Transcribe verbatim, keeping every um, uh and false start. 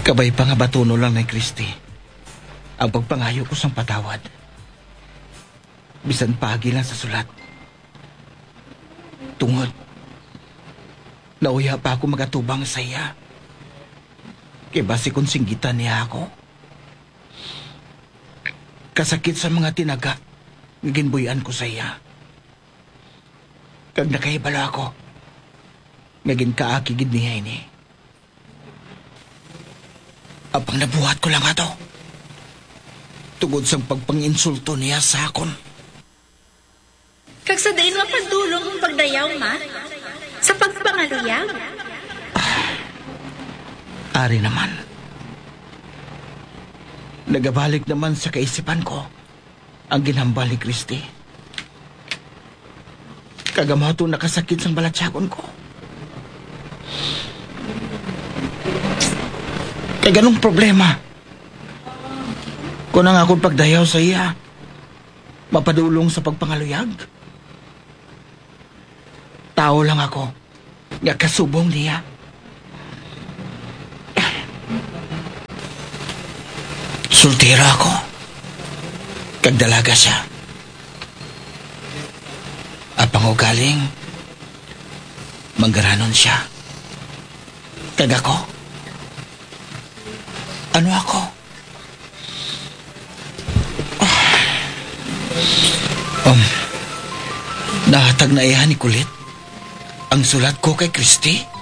Kabay pa nga batunon lang ni Christy ang pagpangayo ko sang patawad, bisan paagi lang sa sulat. Tungod, nauya pa ako magatubang sa iya. Kay basi kon singgitan niya ako, kasakit sa mga tinaga nga ginbuy-an ko sa iya. Kag nakahibalo ako nga ginkaaki gid niya ini. Apang nabuhat ko lang ato tungod sang pagpanginsulto niya sa akon. Kag sa diin nga padulong ang pagdayaw, ma? Sa pagpangaluyag? Ari naman. Nagabalik naman sa kaisipan ko ang ginhambal ni Christy. Kag amo ato nakasakit sang balatyagon ko. Kag anong problema kung ang akon pagdayaw sa iya mapadulong sa pagpangaluyag? Tawo lang ako nga kasubong niya. Soltero ako, kag dalaga sia. Apang ugaling manggaranon sia. Kag ako? Ano ako? Um, nahatag na iya ni Kulit ang sulat ko kay Christy?